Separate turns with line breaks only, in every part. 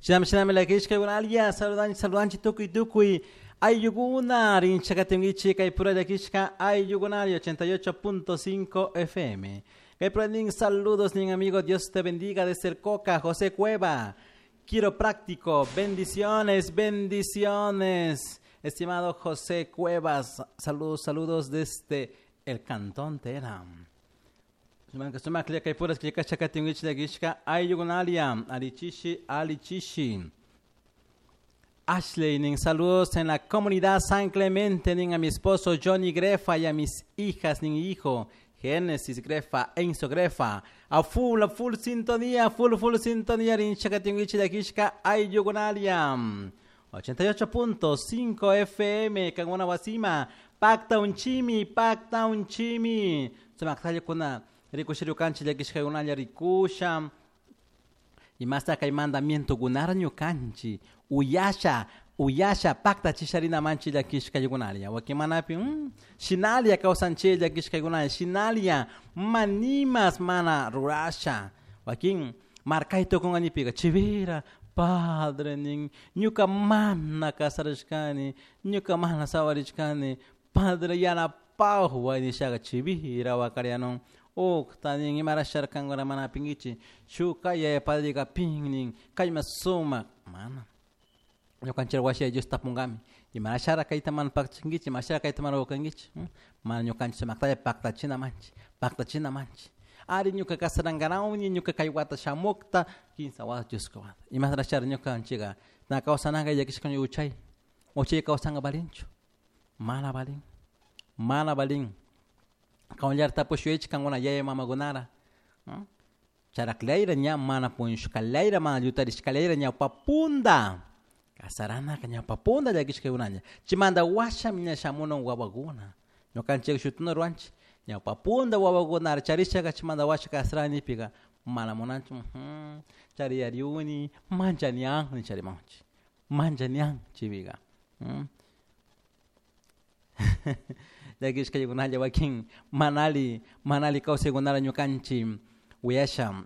Shinami shinami llakishka saludanchik saludanchik tukuy tukuy ayllukuna rinchakatinkichik kay pura llakishka ayllukunari 88.5 FM. Kay pura nin saludos nin amigo, Dios te bendiga desde el Coca, José Cueva. Quiropráctico, bendiciones, bendiciones. Estimado José Cuevas, saludos, saludos desde el Cantón Tera. Alichishi, alichishi. Ashley, nin saludos en la comunidad San Clemente, nin a mi esposo Johnny Grefa y a mis hijas, nin hijo Génesis Grefa, Enzo Grefa, a full sintonía, full, full sintonía, rinchakatingichilakishka, ayllukunalia. 88.5 FM, Kanguna Wasima, Pacta unchimi, pacta unchimi. Sumaktallikuna, rikushirukkanchik llakishkakunalla rikusha. Y más kay mandamiento kunara ñukanchik, uyasha, uyasha paktachisharina manchi llakishkaykunalla. Wakin manapi, shinalia kawsanchik llakishkaykunalla, shinalia manimas mana rurasha. Wakin markay tukunganipika chivira, padre nin, ñuka mana kasarashkani, ñuka mana sawarishkani, padre yanapaway nishaka chivira wakarianun. Ukta nin imarasharkankuna mana pinkichik, shuk kay yaya padreka pin nin, kayma sumak, mana. Ñukanchik wasi Dios tapunkami, imarashara kayta mana paktachinkichik, imashara kayta mana rurankichik, mana ñukanchik sumaktalla paktachina manchik, paktachina manchik. Ari ñuka kasarankarawni, ñuka kay wata shamukta, kinsa wata, chusku wata. Imasrashara ñukanchika, na kawsanaka llakishka uchay, uchay kawsanka valinchu, mana valin, mana valin. Kawanllar tapushuychik kankuna yaya mamakunara, charaklayra ña mana puñushkalayra, mana llutarishkalayra ñawpapunda, kasaranaka ñawpapunda llakishkakunalla. Chimanta washami ña shamunun wawakuna, ñukanchik shutuna ruranchik, ñawpapunda wawakunara charishaka chimanta washa kasaranipika mana munanchik, chariyariuni, manchanian nicharimanchik, manchanian chaypika. Llakishkakunalla wakin manali, manali kawsaykunara ñukanchik uyasha,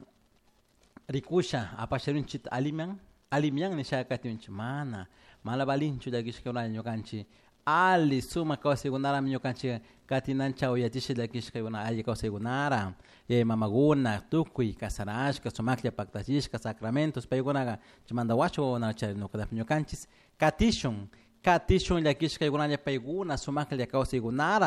rikusha apasharunchik alimian, alimian nishaka katinchik, mana, mana valinchu llakishkakunalla ñukanchik, ali sumak kawsaykunarami ñukanchik katinancha uyachisha llakishkakuna alli kawsaykunara, yaya mamakuna tukuy kasarashka sumaklla paktachishka sacramentos paykunaka chaymanta washa wawakunata charinukuna ñukanchik katishun, katishun llakishkaykunalla paykuna sumaklla kawsaykunara.